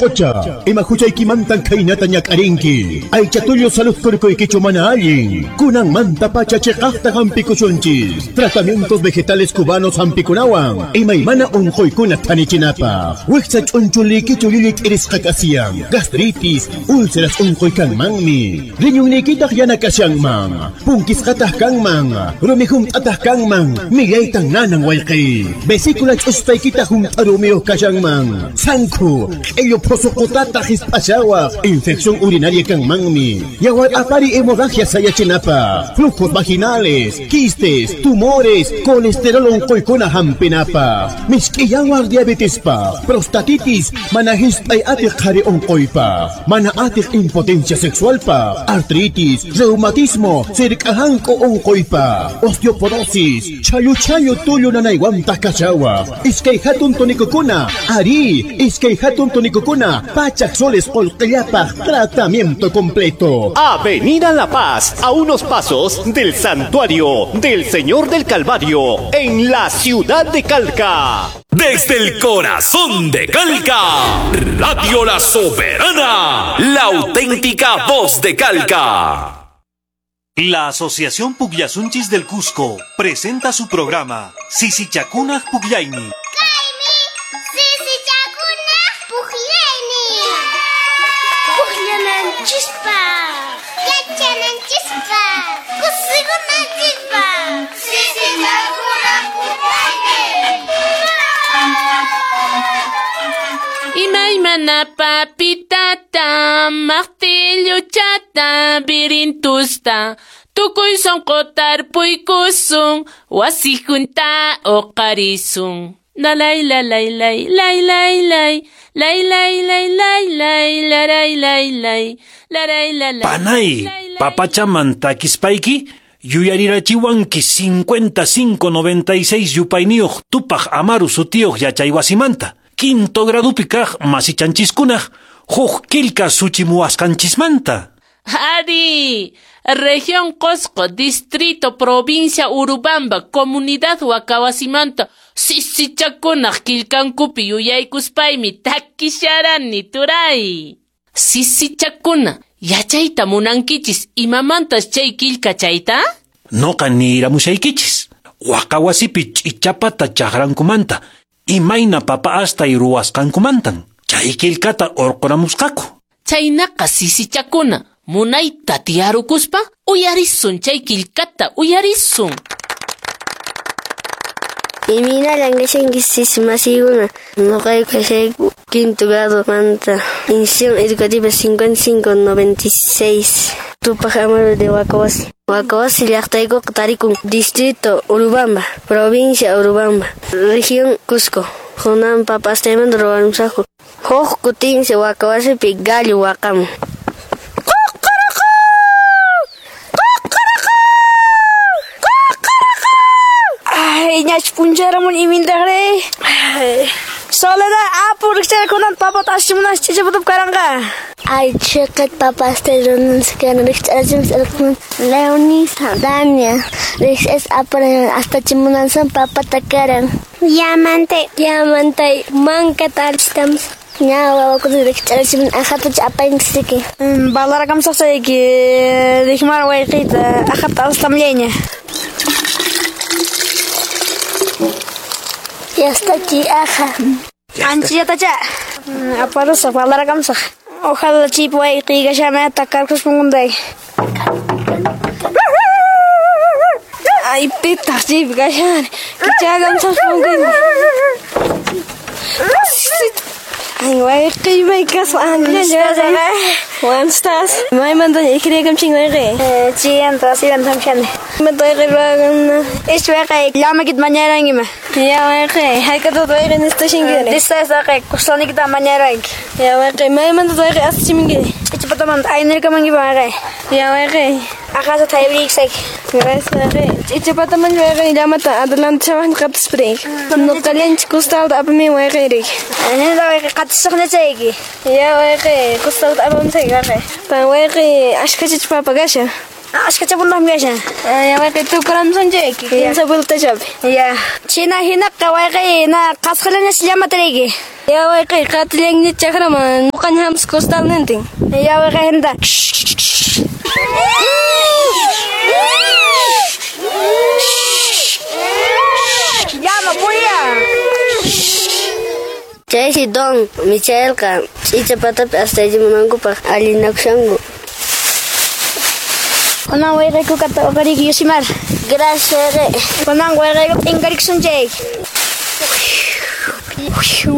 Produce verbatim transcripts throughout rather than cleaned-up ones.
sunqucha, ima huchaykimantan khaynata ñak'arinki. Aycha tullu salud kurkuykichu mana allin. Kunanmanta pacha chiqaqta hampikusunchis. Tratamientos vegetales cubanos hampikunawan. Imaymana unquykuna thanichinapaq. Wiksa ch'unchuliykichu llullu k'irisqa kasiyan. Gastritis, úlceras unquy kanmanmi. Riñunniykitaq yana kashanman. Punkisqataq kanman. Rumi hunt'ataq kanman. Millaytan nanan wayqi. Vesícula ch'uspaykita hunt'a rumiyuq kashanman. Sankhu, q'illu phusuqutataq hisp'ashawaq. Infección urinaria kanmanmi. Yawar apari hemorragia sayachinapaq. Flujos vaginales, quistes, tumores, colesterol unquykuna hampinapaq. Misk'i yawar diabetispaq, prostatitis, mana hisp'ay atiq qhari unquypaq, mana atiq impotencia sexualpaq, artritis, reumatismo, sirk'ahanku unquypaq, osteoporosis, challu challu tullu nanaywantaq kashawaq. Iskay hatun tonikukuna, ari, iskay hatun tonikukuna, pachak soles qullqillapaq, tratamiento completo. Avenida La Paz, a unos pasos del Santuario del Señor del Calvario, en la ciudad de Calca. Desde el corazón de Calca, Radio La Soberana, la auténtica voz de Calca. La Asociación Pugllasunchis del Cusco presenta su programa Sisichakunaj Pugllayni. Sisichakunaj Pugllayni. Pugllananchispaq, yachananchispaq, kusikunanchispaq. Sisichakunaj Pugllayni. Imaymana papitata, martilluchata, birintusta, tukuy sonqo tarpuykusun, wasi junta uqarisun. La lay la lay lay lay lay lay lay lay lay lay lay la lay lay lay la lay la lay. Panay, papachaman takispayki, yuyarirachiwanki cincuenta cinco noventa y seis yupayniyuq Tupaq Amaru sutiyuq yachaywasimanta. Quinto gradupi kaq masichanchiskunaq huk qillqa suchimuwasqanchismanta. Ari, región Cosco, distrito, provincia Urubamba, comunidad Huacahuasimanta, sisichakunaq qillqankupi yuyaykuspaymi takisharani turay. Sisichakuna, yachayta munankichis imamantas chay qillqa chayta? Noqa niramushaykichis. Huacahuasipi ch'ichapata chaqrankumanta, imayna papa astay ruwasqankumantan. Chay qillqata urquramusqaku. Chaynaqa sisichakuna, munayta tiyarukuspa uyarisun chay qillqata, uyarisun. Imaynallan kashanki sisimasikuna, noqayku kashayku quinto grado manta, institución educativa cincuenta y cinco noventa y seis, Tupaq Amaru de Huacahuasi. Huacahuasi llaqtaykuqa tarikun distrito Urubamba, provincia Urubamba, región Cusco. Hunan papa astaymanta ruwamusaqku. Huk kutinsi Huacahuasipi gallo waqamun. Ay, ñach puncharamun imintaqri. Soledad, apu rikcharakunan papata ashimunas chichapatap karanqa. Ay, chiqit papastay runansikana rikch'arachimus irqun Leonisa, Dania, rikch'as aparan astachimunansan papata karan. Yamantay, yamantay, mankata alchitamos. Ña wawakuna rikch'arachimun aqhatacha apaynchis. Balarakamsaqchayki rikmar wayqiyta aqhata astamllayña. Yastachi aja. Anchillatacha. Aparusaq, balarakamsaq. Ojalá chip wayqiyqa shama takarkus pungunday. Ay, pitaq chip kashan. Kichakamsaq pungun. Ay, wayqiy may kasqa. Juan estás? Maymanta ikriykamchin wayqiy. Chiyanta, asiranta hamshani. Imata wayqiy ruwakuna? Ish wayqiy, llamakita mañarankima. Ya wayqiy, hayk'ataq wayqiy nistashankiri? Distas wayqiy, kustalnikita mañaranki. Ya wayqiy, maymanta wayqiy astachimunkiri? Ichapatamanta aynirkamankipa wayqiy. Ya wayqiy. Aqhasa taybriksayki. Gracias wayqiy. Ichapatamanta wayqiy llamata adelante shawaqni qatispiriyki. Nuqallanchik kustalta apamin wayqiyriki. Nina wayqiy qatishaqnachayki. Ya wayqiy, kustalta apamusayki wayqiy. Pan wayqiy ashkhachachu papa kashan? Ashkachapundaqmi kashan. Ya wayqi tukuramsunchayki. Kimsa vueltachapi. Ya. China hinaqa wayqi na qasqallañas llamatariyki. Ya wayqi qatillanña chakraman nuqaña hamus costalnintin. Ya wayqi hinta. Llama puya. Chaysi don Michaelqa ch'ichapatapi astaychimunankupaq allinakushanku. Kunan wayqayku kata uqariyki Yosimar. Gracias. Kunan wayqayku t'inkarikusunchayki.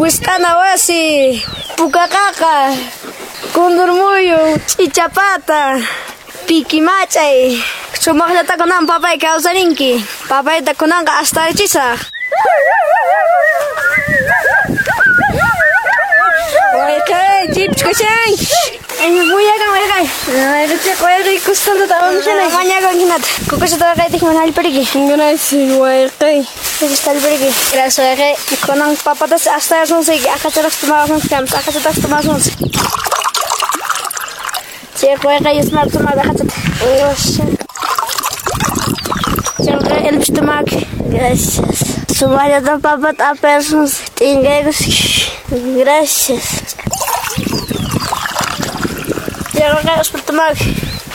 Wisq'ana wasi, pukaqaqa, kundurmuyu, ch'ichapata, pikimach'ay. Sumaqllata kunan papay kawsarinki. Papayta kunanqa astarichisaq. Wayqay, chipchkushanki. Muyakan wayqay. Wayqay, wayqay kustalta apamushanay. Mañakun hinata. Kukushata wayqaytikman hallpariki. Gracias, wayqay. Kukushata hallpariki. Gracias, wayqay. Kunan papatas astarasunchayki. Aqacharaq tomasunchik kamas. Aqachataq tomasunchik. Chay wayqay yusmar tomar aqachata. Gracias. Chay wayqay elpish tomaki. Gracias. Sumaqllata papata aparasunchik. T'inkaykusaq. Gracias. Chay wayqay uspir tomaki.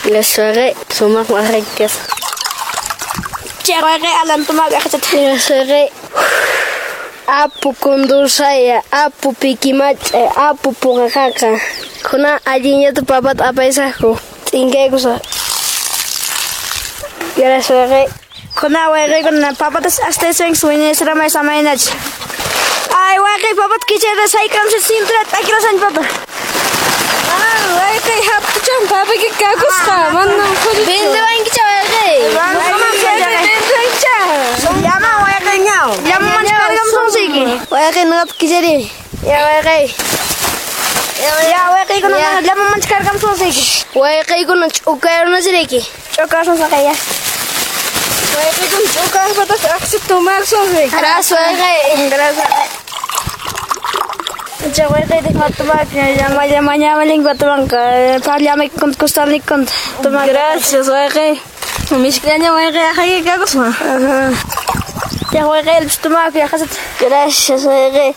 Gracias, wayqay. Sumaq waqayki kasqa. Chay wayqay alan tomaki aqachata. Gracias, wayqay. Apu kundursaya, apu pikimach'ay, apu puqaqaqa. Kunan allinllata papata apaysaqku. T'inkaykusaq. Gracias, wayqay. Kunan wayqaykuna papatas astaysanki wiñaysiramay samaynachi. Ay wayqay papata kichayta saykamsha cinturata p'akirasanchi papa. Ah, wayqay haptuchan papayki kakusqa, manam qulluchu. Vendewankicha wayqay. Vendewankicha. Llama wayqay ñaw. Llama manchkarqamsunchayki. Wayqay nuqata kichari. Ya wayqay. Ya wayqaykuna llama manchkarqamsunchayki. Wayqaykuna ch'ukayrunasirayki. Ch'ukasunchayki ya. Wayqaykuna ch'ukaspatas aqsi tomarsunchayki. Gracias, wayqay. Gracias. Chay wayqaytik matumaki llama llama ñama lingua tumanqa parlamayki kunta kustalniki kunta tumaki. Gracias, wayqay. Mishkllaña wayqay aqayki kakusqa. Chay wayqay elpish tumaki aqasata. Gracias, wayqay.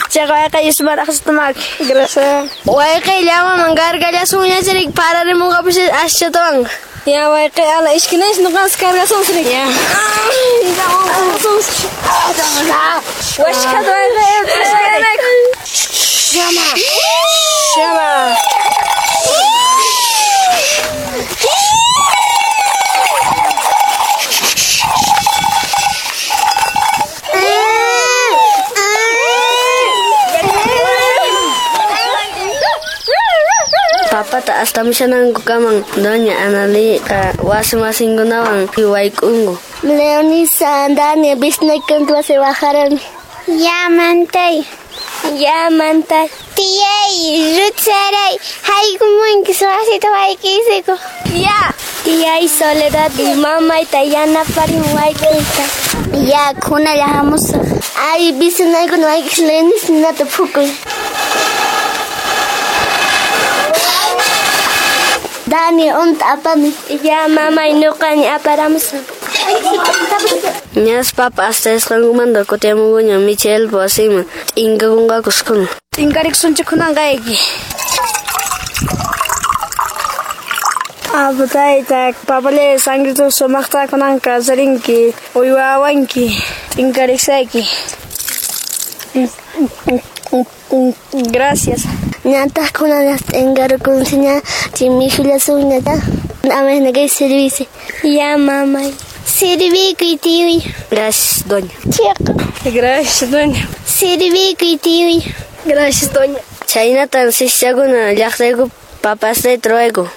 Chay wayqay yusmar aqasata tumaki. Gracias. Wayqay llamaman kargallasunñachiriki pararimunqapis aschatawan. Ya wayqay ala ishkinash nuqanchis kargasunchik. Ya. Washkata wayqay. Llama. Llama. Papata astamushanankukaman doña Analiqa wasi masinkunawan wayk'unku. Leonisa, Dani, bisnaykunta wasi bajarani. Ya mantay. Ya mantay. Tiyay, Rutsaray, haykumunki wasita wayk'isiku. Ya. Tiyay Soledad y mamayta yanaparin wayk'uyta. Ya, kunalla hamusaq. Ay, bisnaykuna wayk'is Leonisa ninata phukuy. Dani, unta apami. Ya, mamay, nuqaña aparamusaq. Ñas papa astayasqankumanta kutiyamunkuña Michelpa wasinman t'inkakunqakus kuna. T'inkarikusunchik kunanqayki. Apu tayta, papallay sangrito sumaqta kunanqa kawsarinki, uywawanki, t'inkarikuyki. Gracias. Ñantaq kunan t'inkarukunsiña chimikhullasunña amay kay servicio. Ya, mamay. Servikuy tiyuy. Gracias, doña. Chiqa. Gracias, doña. Servikuy tiyuy. Gracias, doña. Chhaynatan sischakuna llaqtayku papastayta ruwayku.